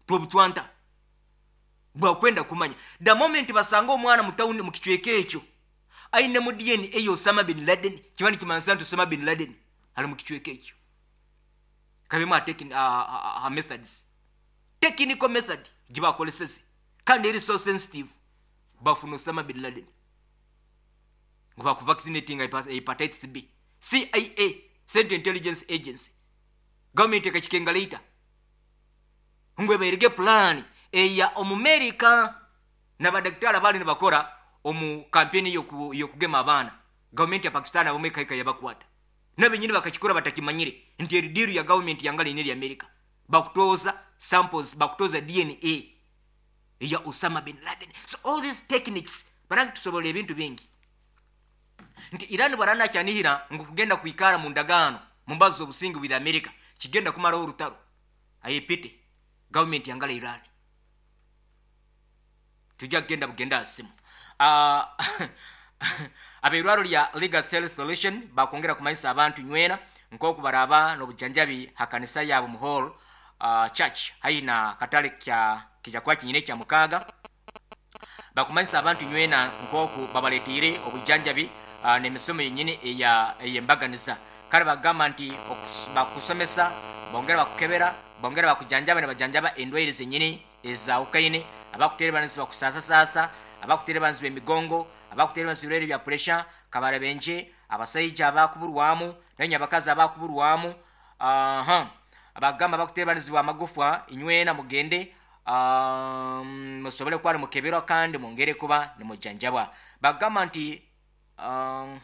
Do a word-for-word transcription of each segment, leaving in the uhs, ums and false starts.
Twobucwanta bwakwenda kumanya. The moment basanga omwana mu tawuni mu kicweka ekyo aine mu D N A Osama bin Laden, kiba nikimanisa nti Osama bin Laden ali mu kicweka ekyo. Kabemu a, uh, uh, uh, methods, technical method gibakoleseze kandi eri so sensitive, bafuna Osama bin Laden ngu bakuvaccinating hepatitis B. C I A, Central Intelligence Agency, gavumenti ekakikenga later ngu ebairege plan eya Omumerika nabadakitari abali nibakora omu kampeni yokugema abaana. Gavumenti ya Pakistan abamwe ekaika yabakwata, nabenyini bakakikora batakimanyire nti eri deal ya gavumenti yangala ine eri Amerika. Bakutoza samples, bakutoza D N A ya Osama bin Laden. So all these techniques banange tusobola ebintu bingi nti Iran bwaranakyanihira ngu kugenda kwikara mu ndagaano mu mbazo z'obusingi with America kigenda kumaraho orutaro, ayepite gavumenti yangala Iran. Tujja kugenda bugenda asimu. uh, abeirwaro lya Legacy Health Solution bakwongera kumanyisa abantu nywena nkoku baraba n'obujanjabi hakanisa yabo mu hall uh, church haihi na katale kya kijakuba kinyine kya mukaaga. Bakumanyisa abantu nywena nkoku babaletiire obujanjabi uh, n'emisomo yenyini eya ey'embaganiza. Kale bagamba nti bakusomesa, bongera bakukebera, bongera bakujanjaba ne bajanjaba endwaire zenyini ezawukaine: abakuterebanisa bakusasasasa, abakuterebanisa emigongo, abakuterebanisa ebirwaire bya pressure, kabarabenje, abasaija abakuburwamu nanye abakazi abakuburwamu. Aha, abagamba bakuterebanizibwa amagufwa, inywena mugende um, musobole kuba nimukeberwa kandi mwongere kuba nimujanjabwa. Bagamba nti um,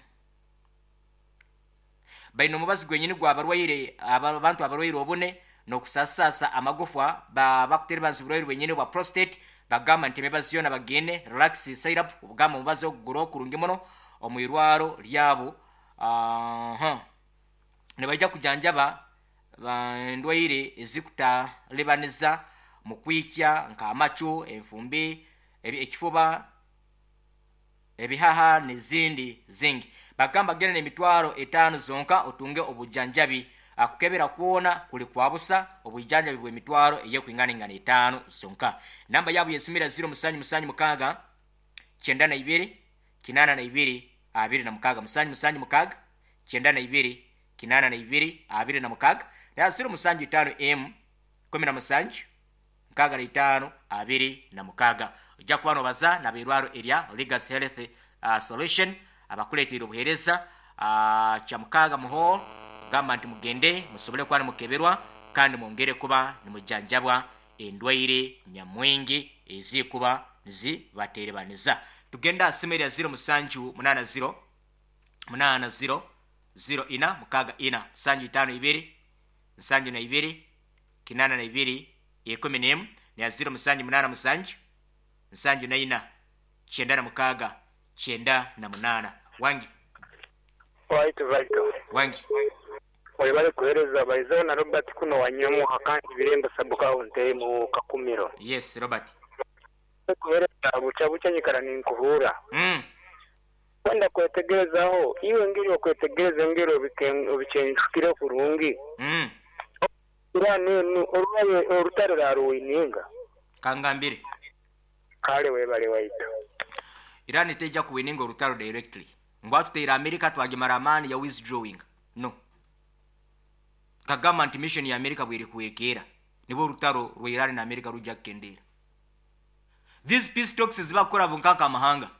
baine omubazi gwenyini gwabarwaire, abantu abarwaire obune n'okusasasa amagufwa, bakuterebanisa oburwaire bwenyini bwa prostate. Bagamba nti emibazi yona bagende, relax syrup, obugamba omubazi ogugura okurungi muno omu irwaro lyabo. uh, nibaija kujanjaba endwaire ezikutalibaniza mu kwikya nk'amacu, enfumbi, ekifuba, ebihaha n'ezindi zingi. Bagamba genda n'emitwaro etaano zonka otunge obujanjabi. Akukebera kwona kuli kwabusa, obujanjabi bw'emitwaro eyekwinganingana etaano zonka. Namba yabo yesimira ziro musanju musanju mukaaga kyenda na ibiri kinaana na ibiri abiri na mukaaga, musanju musanju mukaaga kyenda na ibiri kinaana na ibiri abiri na mukaaga, na ziro musanju itaano m kumi na musanju nkaaga na itaano abiri na mukaaga. Ojja kuba nobaza nabeirwaro erya Legacy Health uh, Solution abakuleetera obuheereza uh, kyamukaaga muhall. Gamba nti mugende musobole kuba nimukeberwa kandi mwongere kuba nimujanjabwa endwaire nyamwingi ezikuba nizibaterebaniza. Tugenda asimu erya ziro musanju munaana ziro munaana ziro ziro ina mukaaga ina, musanju itaano ibiri nsanju na ibiri kinaana na ibiri ekumi n'emu, neya ziro musanju munaana musanju nsanju na ina kyenda na mukaaga kyenda na munaana. Wangi. Waitu vaito. Wangi. Webale kuhereza baizo na Robert kuno wanyomuha kandi birembo sabuka unte mu Kakumiro. Yes, Robert. Kuhereza bucha bucha nyikara ninkuhura. Mm. Kwenda kwetegerezaho iwe ngiri okwetegereza ngiri obichenjukire kurungi. Mm. Ira nenu orubaye orutare raruwininga. Kangambire. Kale webale waitu. Irani teja kuwininga orutaro directly. Ngwatu teira America twagimara amani ya withdrawing. No. Kagamba nti mission ya America bwiri kuwekera nibo orutaro rwa Iran na America rujja kukendera. These peace talks zibakora bunkaka amahanga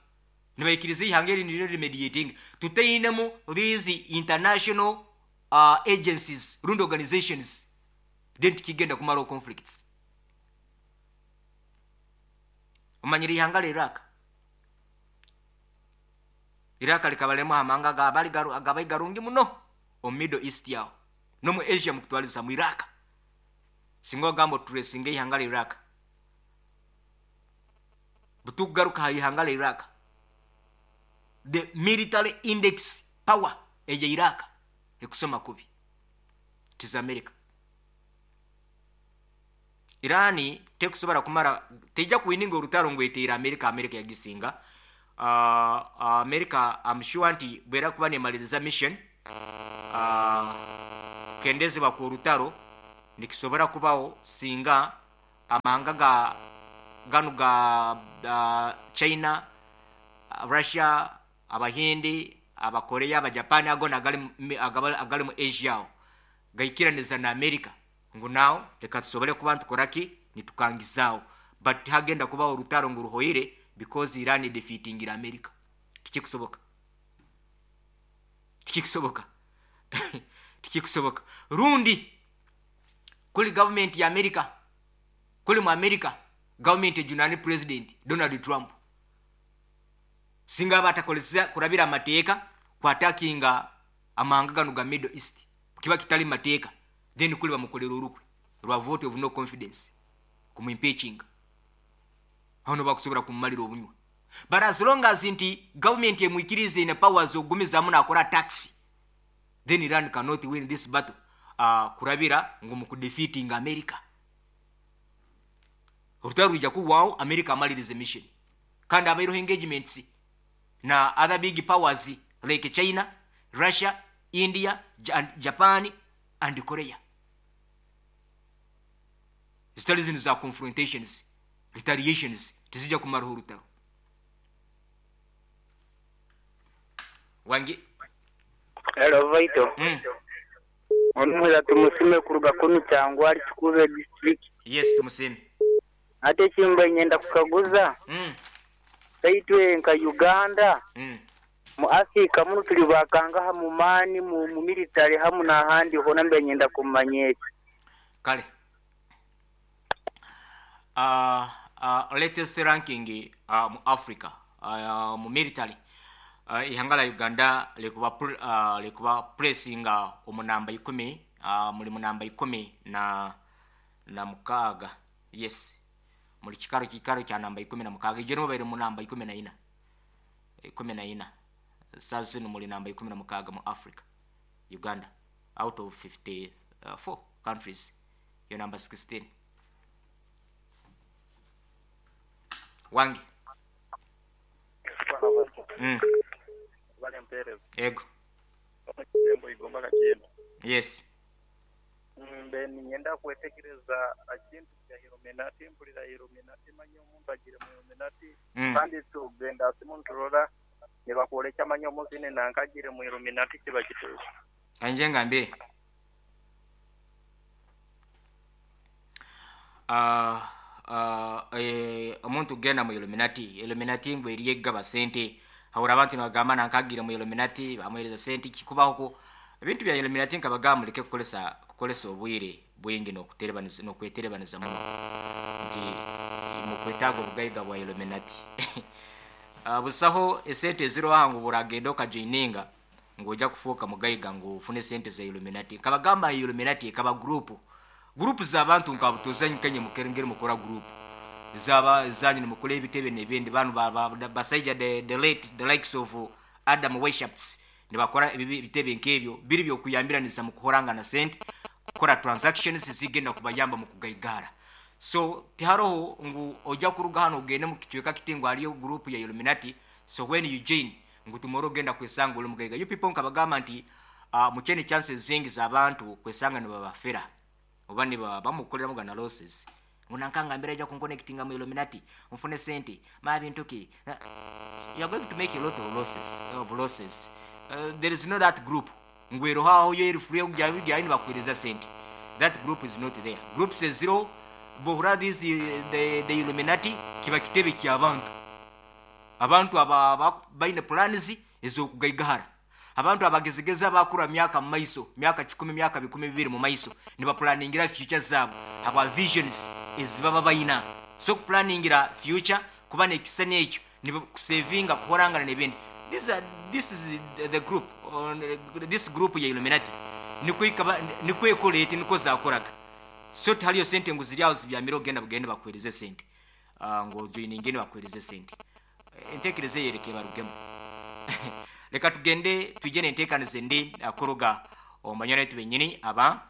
nibaikiriza ihanga eri niryo remediating tuteinemu these international uh, agencies rundi organizations, then tikigenda kumaraho conflicts. Omanyire ihanga lya Iraq, Iraq likabalemu amahanga gabali gabai garungi muno omu Middle East yaho nomu Asia mukutwaliza mu Iraq. Singa ogamba oturesinga ihanga lya Iraq, butukugaruka ha ihanga lya Iraq, the military index power eya Iraq ekusoma kubi tiza America. Irani tekusobora kumara, teija kuwininga orutaro ngu eteire America, America yagisinga. uh, America I'm sure nti bwera kuba nemaliriza mission uh, kukendezebwa ku orutaro nikisobora kubaho singa Amahanga ga ganu ga uh, China, Russia, Abahindi, Abakorea, Abajapani, ago agali agali mu Asia aho gaikiraniza na America ngu nao reka tusobole kuba ntukoraki nitukangizaawo, but hagenda kubaho orutaro ngu ruhoire because Iran defeatingira America. Tikikusoboka, tikikusoboka, tikikusoboka. Rundi kuli government ya America, kuli mu America government ejunani President Donald Trump singa batakolesa kurabira amateeka kwatakinga amahanga gano ga Middle East, kiba kitali mateeka, then kuli bamukolera olukwe lwa vote of no confidence kumwimpeachinga, aho no bakusobola kumumalira obunywa. But as long as nti government emwikirize ine powers ogumizamu nakora tax, then Iran cannot win this battle uh, kurabira ngu mu kudefeating America. Orutaro rwija kuwawo America amalirize mission, kandi abaireho engagements na other big powers like China, Russia, India, Japan and Korea. Zitali zino za confrontations, retaliations, tizija kumaraho orutaro. Wangi. Hello Vaito. Mm. Omuza tumusime kuruga kunu cyangwa ari Kikube district. Yes, tumusime. Ate kimba nyenda kukaguza. Mm. Saitwe nka Uganda. Mm. Mu Afrika muno tuli bakanga mu mani mu, mu military hamu na handi hona mbe nyenda kumanyeki. Kale. Uh, uh, latest ranking uh, mu Africa uh, mu military uh, ihanga la Uganda likuba uh, likuba pressinga omunamba ikumi uh, muli munamba ikumi na na mukaga. Yes, muli kikaro kikaro kya namba ikumi na mukaga, ije no baire munamba ikumi na ina ikumi na ina sasa muli namba ikumi na mukaga mu Africa. Uganda out of fifty-four countries yo number sixteen. Wangi. Mm. Ego. Yes. Mbe ninyenda kwetegereza akintu kya Illuminati, mpulira Illuminati manyi omuntu agire mu Illuminati, kandi tugenda asimuntu rora nibakwoleka manyi omuzine nankagire mu Illuminati kiba kituufu. Kanje ngambire. Ah uh, uh, eh, omuntu genda mu Illuminati, Illuminati ngwe eriyegaba sente, hawura abantu nibagamba nankagire mu Illuminati bamuhereza sente kikubaho ko ebintu bya Illuminati nkabagamba muleke kukolesa kukolesa obwire bwingi n'okuterebaniza n'okweterebaniza muno nti mukwetaaga obugaiga bwa Illuminati. Uh, busaho esente ziro ngu buragenda okajoininga ng'ojja kufuuka mugaiga ngu ofune sente za Illuminati. Nkabagamba Illuminati ekaba group group z'abantu nkabutuza nkanye mukerengere mukora group zaba zanyu nimukora ebitebe n'ebindi banu basaija the, the late the likes of Adam Weishaupt nibakora ebitebe nk'ebyo biri byokuyambiraniza mu kuhoranga na sente kukora transactions zigenda kubayamba mu kugaigara. So tiharoho ngu ojja kuruga hano ogende mu kicweka kitingo aliyo group ya Illuminati, so when you join ngu tomorrow ogenda kwesanga oli mugaiga. You people nkabagamba nti uh, muchene chances zingi z'abantu kwesanga nibabafera oba niba bamukolera mugana losses ngu nankangambira ija kunconnectinga mu Illuminati nfune sente ma bintu ki, you are going to make a lot of losses of losses. Uh, there is no that group ngwero haho yo eri free kujya bijya nibakwiriza sente. That group is not there. Group says zero bohura this the, the Illuminati kiba kitebe ky'abantu abantu aba baine plans ezokugaigahara, abantu abagezegeza bakura myaka mu maiso myaka kikumi myaka bikumi bibiri mu maiso nibaplaningira future zabo aba visions ezibaba bayina. So planningira future kuba nekisani ekyo nibakusavinga kuhorangana n'ebindi. This uh, this is the, the group on uh, this group ya Illuminati niko ikaba niko ekolete niko zakoraga. So haliyo sente ngu ziri aho zibyamira ogenda bugende bakwereze sente uh, ngo joininge bakwereze sente entekereze yereke barugemo. Leka tugende tujene entekanize ndi akoroga omanyana yetu benyini aba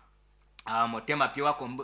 uh, motema pyo wako uh?